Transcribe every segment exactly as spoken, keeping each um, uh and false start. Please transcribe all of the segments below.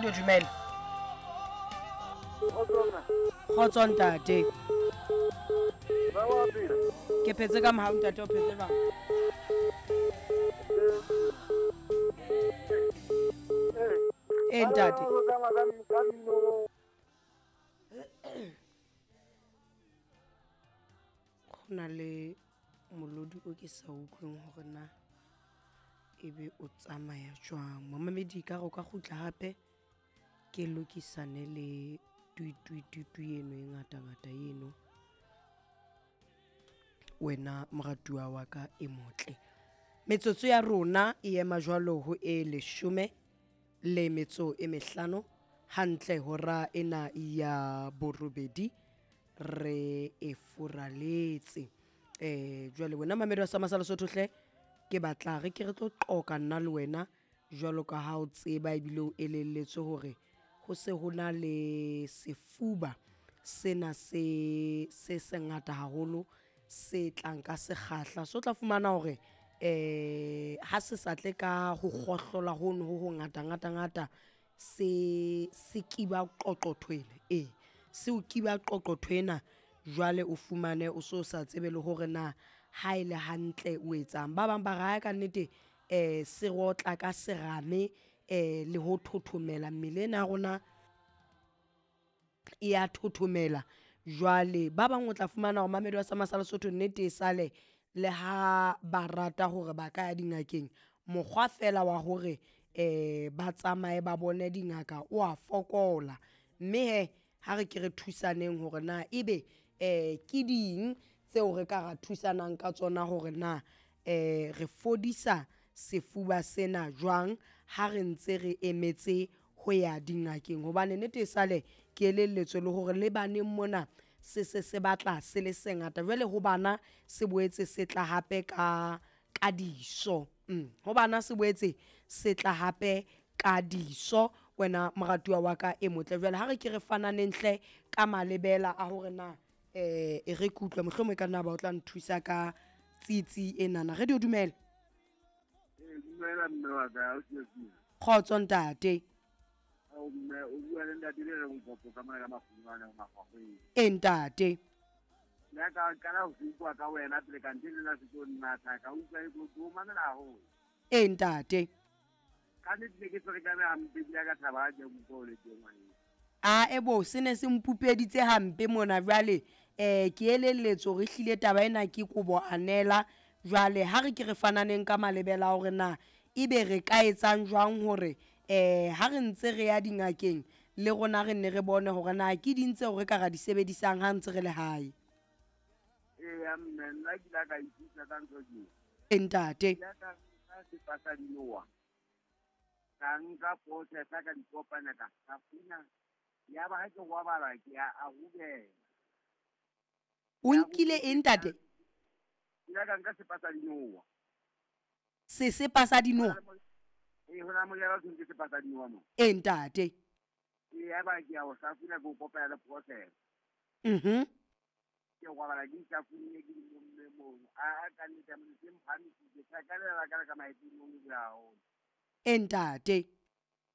Radio dumela. Kgotso ntate. Ke phetse ka mohau ntate, o phetse jwang? E ntate. Go na le molodi o ke sa utlweng hore na ebe o tsamaya jwang. Momamedi ka re o ka kgutla hape ke lokisane le tui tui tui tui eno e ngata-ngata eno. Wena moratuwa wa ka e motle. Metsotso ya rona e ema jwalo ho e leshome le metso e mehlano hantle hora ena ya borobedi re e furaletse. Eh jwale wena mamedi wa Sama sa Lesotho hle, ke batla re ke re tlo qoka nna le wena jwalo ka ha o tseba ebile o elelletswe hore ho se ho na le sefuba sena se se sengata haholo se tlang ka sekgahla. So tla fumana hore eh ha se sa tle ka ho kgohlola hono ho ho ngata ngata ngata, se se kiba qoqothwena. E se o kiba qoqothwena jwale o fumane o so sa tsebe le hore na ha e le hantle o etsang. Ba bang ba re ka nnete eh se rotla ka serame eh le ho thothomela mmele ena ya rona e ya thothomela. Jwale ba bang o tla fumana hore mamedi wa Sama sa Lesotho nnete e sale le ha ba rata hore ba ka ya dingakeng, mokgwa fela wa hore eh ba tsamaye ba bone dingaka o a fokola. Mme he ha re ke re thusaneng hore na ebe eh ke ding tseo re ka ra thusanang ka tsona hore na eh re fodisa sefuba sena jwang ha re ntse re emetse ho ya dingakeng. Hobane nnete e sale ke elelletswe le hore le baneng mona se se se batla se le sengata. Jwale ho bana se boetse se tla hape ka ka diso. Mm. Ho bana se boetse se tla hape ka diso. Wena moratuwa wa ka e motle. Jwale ha re ke re fananeng hle ka malebela a hore na eh e re kutlwe mohlomong e ka nna ba o tla nthusa ka tsitsi enana. Radio dumela. Eh dumela mme wa ka, o tsitsi. Kgotso ntate. O mme o bua le ntate le re nkopo ka mona ka mafungwana magwagweng. E ntate. Nna ka qala ho utlwa ka wena pele ka ntse le nna se tlo nna tla ka utlwa e tlo tlo mamela haholo. E ntate. Ka nnete ne ke ferekane hampe ebile ka thaba ha ke utlwa o le teng ngwaneng. A ebo se ne se mpupeditse hampe mona jwale eh ke elelletswe hore ehlile taba ena ke kobo anela. Jwale ha re ke re fananeng ka malebela hore na ebe re ka etsang jwang hore eh ha re ntse re ya dingakeng le rona re nne re bone hore na ke ding tseo re ka ra di sebedisang ha ntse re le hae. Eya mme, nna ke ile ka ithuta ka ntho tse. E ntate. Ke ile ka nka sepa sa dinowa. Ka nka process-a ka di kopanya ka hlafuna. Ya ba ha ke robala ke a a rubela. O nkile eng ntate? Ke ile ka nka sepa sa dinowa. Sesepa sa dinowa? Ee, ho na moriana o thweng ke sepa sa dinowa mo. E ntate. Ee, ya ba ke a o hlafuna ke o kopanya le process. Mhm. Ke robala ke ihlafunne ke di momme mono. A, a ka nnete ya Modimo, ke mphamisitse. Ka ka lela ka le ka maetong mono ke haholo. E ntate.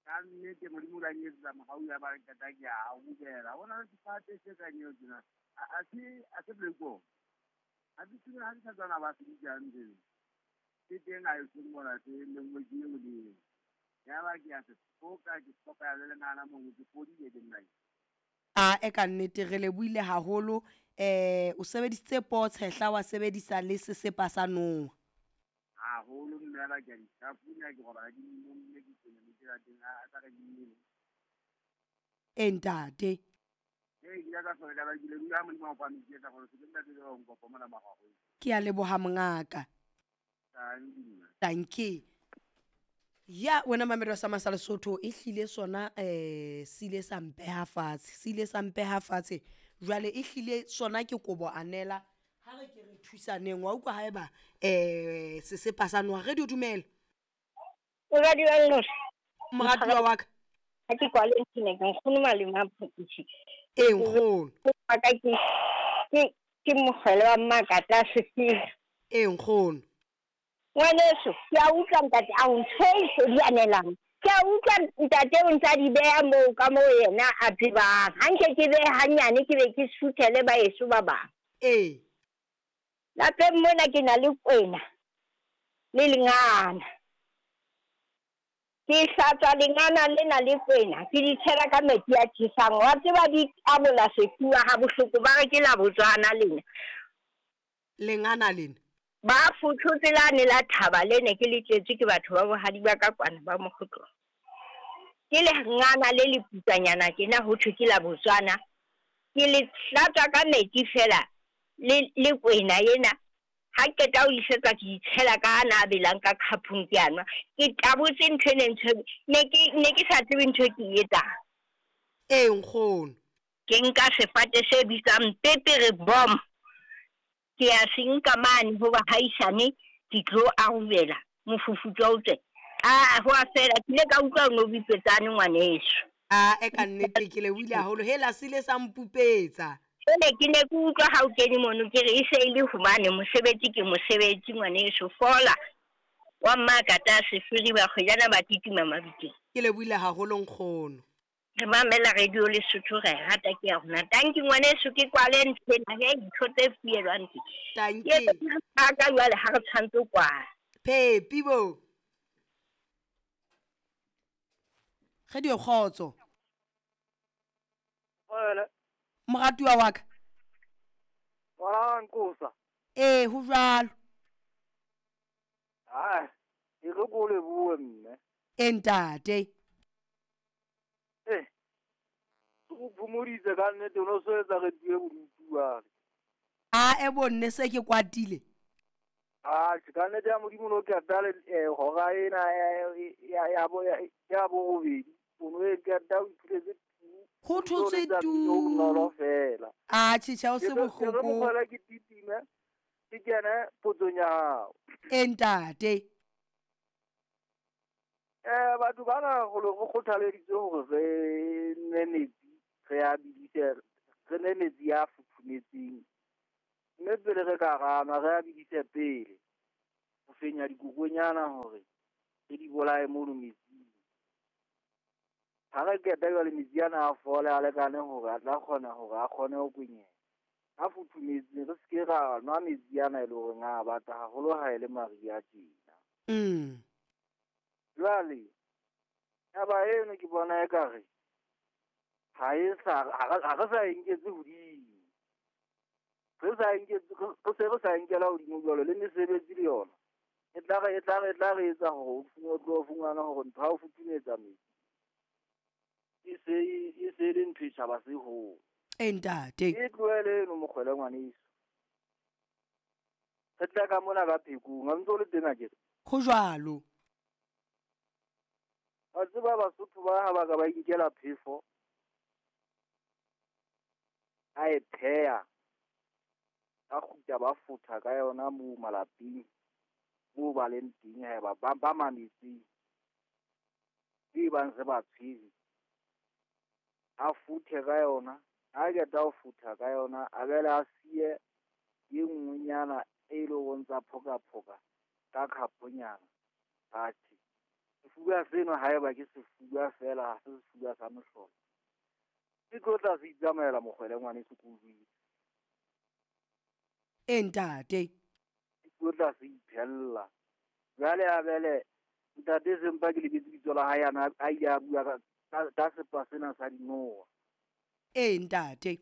Ka nnete Modimo o la nketsetsa mohau ya ba re qeta ke a rubela. Ho na le sefate se kang eo tjena. A, a se, a se blekong. Ha ke tsebe ha ke sa tswana ba se bitsang teng. Ke teng ha e se mona se lengwe ke eo le eo. Ya ba ke a se foka, ke foka ya le lengana mono, ke fodile ke nna. A e ka nnete re lebohile haholo. Eh o sebedisitse potshehla wa sebedisa le sesepa sa noha. Haholo mme ya ba ke a di hlafuna, ke robala ke di momme, ke tsena metsi a teng, a tla re di nwele. E ntate. Ee, ke ile ka ferekana, ke lebohile ha Modimo a o phahamisitse ka gore se ke ntate le wa nkopo mona magwagweng. Ke a leboha mongaka. Thank you. Thank you. Ya wena mamedi wa Sama sa Lesotho e hlile sona eh se ile sa mpeha fatshe, se ile sa mpeha fatshe. Jwale e hlile sona ke kobo anela. Ha re ke re thusaneng wa utlwa haeba eh sesepa sa noha. Radio dumela. Moradi wa Nnosi. Moratuwa wa ka. Ha ke kwale ntshene ke nkgono malome a Phokisi. E nkgono. Wa ka ke, ke, ke mogwele wa Mmakatla Sefiri. E nkgono. Ngwaneso, ke a utlwa ntate, a o ntho e se di anelang. Ke a utlwa ntate o ntsa di beha moo ka moo yena a tsebang. Ha nke ke behe hanyane ke be ke suthele baheso ba bang. Ee. Lapeng mona ke na le kwena le lengana. Ke hlatswa lengana lena le kwena, ke di tshela ka metsi a tjhesang. Wa tseba di tabola sefuba ha bohloko, ba re ke la Botswana lena. Lengana lena? Ba fothotse lane la thaba lene ke le tletswe ke batho ba bohadi ba ka kwana ba Mokgotlong. Ke lengana le le putswanyana tjena ho thwe ke la Botswana. Ke le hlatswa ka metsi feela le le kwena ena. Ha qeta ho isetsa ke itshela ka ana a belang ka khapong ke a nwa. Ke tabotse ntho e ntho ne ke ne ke sa tsebe ntho e ke e etsang. Ee nkgono. Ke nka sefate se bitswang pepere bomb. Ke a se nka mane ho bahaisane ke tlo arubela mofufutso o tswe. Ah, ho a fela ke ile ka utlwa o no bipetsane ngwaneso. Ah, e ka nnete ke le buile haholo hela sile sa mpupetsa. Ene ke ne ke utlwa ha o kene mono ke re e se e le hobane mosebetsi ke mosebetsi ngwaneso fola. Wa mmakata sefiri ba kgwejana ba titima mabiteng. Ke le buile haholo nkgono. Re mamela radio Lesotho re rata ke ya rona. Tanki ngwaneso ke kwale ntho ena he dintho tse fuelwang tse. Tanki. Ke ka jwale ha re tshwantse ho kwala. Phepi bo. Radio kgotso. Wele. Moratuwa wa ka. Wa nkosa. Ee, ho jwalo. Hai, e re ko lebohe mme. E ntate. Eh. O phomoditse ka nnete o no so etsa re tue bodutu jwale. A e bonne se ke kwatile. Ah, ka nnete ya Modimo no ke atale eh hora ena ya ya bo ya bo robedi. O no e ke ata o iphuletse ho thotse tu. Bonolo fela. Ah, tjhe o se bohloko. Ke mo ke titime. Ke kene potsong ya hao. E ntate. Eh batho bana go le go kgothaleditswe hore re nwe metsi, re a bidise, re nwe metsi a futhumetseng. Mme pele re ka rana re a bidise pele ho fenya dikokonyana hore re di bolaye mono metsing. Ha re qeta jwale metsi ana a fole a lekane hore a tla kgona hore a kgone ho kwenyeha. A futhumetseng re se ke ra nwa metsi ana e le horeng a bata haholo ha e le mariha tjena. Mm. Jwale taba eno ke bona ekare ha e sa ha re sa e nketse hodimo. Re sa e nketse re se re sa e nkela hodimo jwalo le mesebetsi le yona. E tla re e tla re e tla re etsa hore o tlo fumana hore ntho ha o futhumetsa metsi. E se e se le ntho e tjhaba se ho. E ntate. E tlohele eno mokgwele ngwaneso. Re tla ka mona ka phekong, ha ntse o le teng akere. Ho jwalo. Wa tseba Basotho ba ha ba ka ba inkela phefo a e pheha, ba kgutla ba futha ka yona moo malapeng moo ba leng teng haeba ba ba mametseng e bang se ba tshwere. A futhe ka yona, ha qeta ho futha ka yona a bele a siye e nngwenyana e leng hore ntsa phoka-phoka ka khaponyana. Atjhe, sefuba seno haeba ke sefuba feela ha se sefuba sa mohlolo. Se tlo tla se itsamaela mokgwele ngwaneso ke o jwetse. E ntate. Se tlo tla se iphella. Jwale a bele ntate sempa ke lebetse bitso la hae ana a ile a bua ka ka sepa sena sa dinoha. E ntate.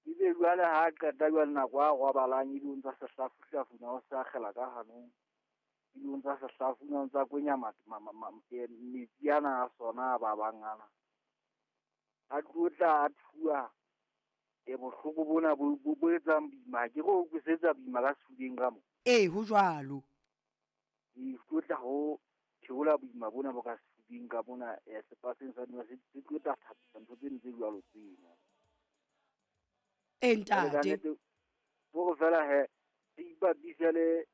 Ebe jwale ha qeta jwale nako a robalang ebe o ntsa se hlafuhlafuna o sa akgela ka hanong. Ebe o ntsa se hlafuna o ntsa kwenya metsi ana a sona a babang ana. A tlo tla a thuwa e bohloko bona bo bo etsang boima ke go utlwisetsa boima ka sefubeng ka mo. Ee, ho jwalo. E tlo tla ho theola boima bona bo ka sefubeng ka mona sepaseng sa dinoha se tlo tla thapisa ntho tseno tse jwalo tsena. E ntate. Bo fela he re ipapise le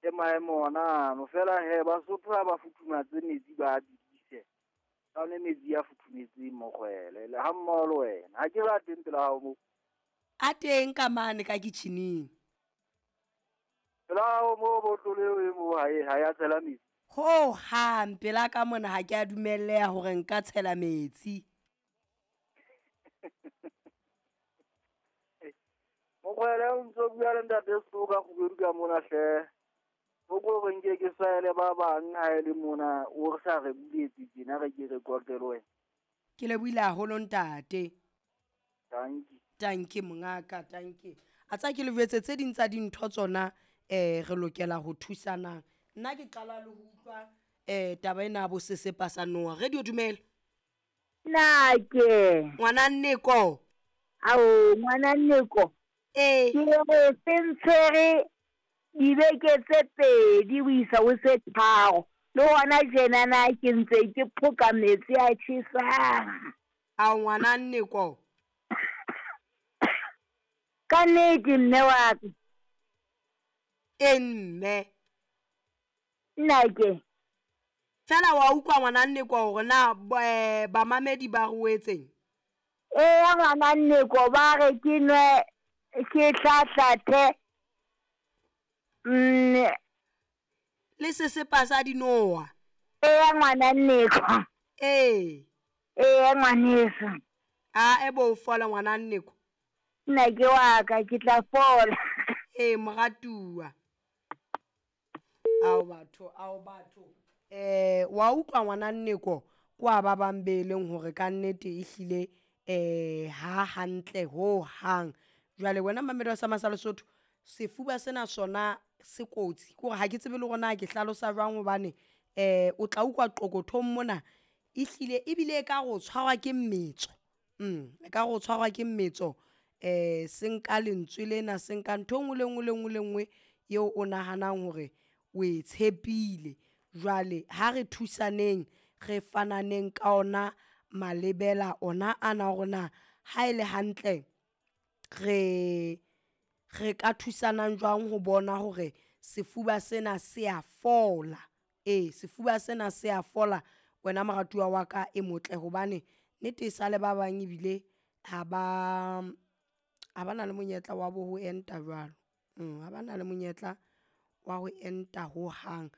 le maemo ona ano fela he Basotho ha ba futhumatse metsi ba a bidise. Ba nwe metsi a futhumetseng mokgwele le ha mmoho le wena. Ha ke ba teng pela hao moo. A teng ka mane ka kitjhining. Pela hao moo botlolo eo e moo ha e ha ya tshela metsi. Ho hang pela ka mona ha ke a dumelleha hore nka tshela metsi. Mokgwele o ntso bua le ntate Seoka Kgubedu ka mona hle. O ko re nke ke saele ba bang ha e le mona o re sa re buletse tjena re ke re qoqe le wena. Ke lebohile haholo ntate. Tanki. Tanki mongaka, tanki. A tsa ke le jwetse tse ding tsa dintho tsona eh re lokela ho thusanang. Nna ke qala le ho utlwa eh taba ena ya bo sesepa sa noha. Radio dumela. Nake. Ngwana Nneko. Ao, ngwana Nneko. Ee. Ke re se ntshwere dibeke tse pedi ho isa ho tse tharo. Le hona tjenana ke ntse ke phoka metsi a tjhesang. Ao ngwana Nneko. Ka nnete mme wa ka. E mme. Nnake. Fela wa utlwa ngwana Nneko hore na eh, bamamedi ba re etseng? Eya ngwana Nneko ba re ke nwe ke hlahlathe mm le sesepa sa dinoha. Eya ngwana Nneko. Ee. Eya ngwaneso. A e bo fola ngwana Nneko. Nna ke wa ka ke tla fola. Ee moratuwa. Ao batho, ao batho. Eh wa utlwa ngwana Nneko kwa ba bang be leng hore ka nnete ehlile eh ha hantle ho hang. Jwale wena mamedi wa Sama sa Lesotho, sefuba sena sona se kotsi. Ke hore ha ke tsebe le hore na ke hlalosa jwang hobane eh o tla utlwa qokothong mona ehlile ebile e ka re o tshwarwa ke mmetso. Mm, e ka re o tshwarwa ke mmetso. Eh se nka lentswe lena, se nka ntho e nngwe le nngwe le nngwe le nngwe eo o nahanang hore o e tshepile. Jwale ha re thusaneng, re fananeng ka ona malebela ona ana hore na ha e le hantle re re ka thusanang jwang ho bona hore sefuba sena se a fola. Ee, sefuba sena se a fola wena moratuwa wa ka e motle, hobane nnete e sale ba bang ebile ha ba ha ba na le monyetla wa bo ho enta jwalo. Mm, ha ba na le monyetla wa ho enta hohang.